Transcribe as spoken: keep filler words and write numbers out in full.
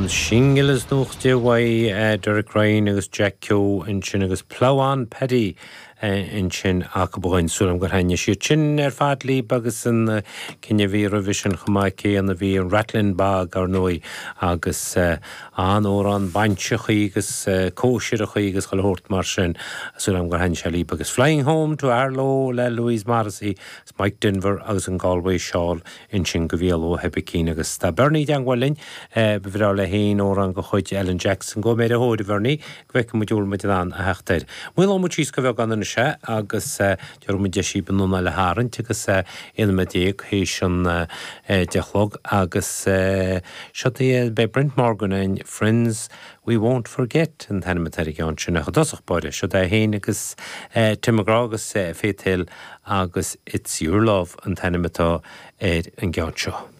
Singil is nócha uaidh Derek Ryan agus Jack Keogh ansin agus Plough On Paddy ansin acu againn súil agam gur thaitnigh siad sin ar fad libh agus an ceann a bhí roimhe sin chomh maith céanna bhí an Rattlin' Bog ar ndóigh agus an-amhrán bainseachaí agus cóisireachaí agus chuile shórt mar sin súil agam gur thaitnigh sé libh agus Flying Home to Aherlow le Louise Morrissey Mike Denver agus an Galway Shawl ansin go Mhícheál Ó hOibicín agus tá Bernie i dteagmháil linn ba bhreá leis féin amhrán de chuid Alan Jackson go méid a thóir a Bhernie go bhfeicfidh muid bhfuil muid in ann a theacht air. Maolóidh muid síos go beagán anois é agus déarfaidh muid deis an anáil a tharraingt agus aon nóiméad déag théis an deich a chlog agus seo beidh Brent Morgan in Friends We Won't Forget an t-ainm atá ar an gceann sin ach i dtosach báire seo é féin agus Tim McGraw agus Faith Hill agus It's Your Love an t-ainm atá ar an gceann seo.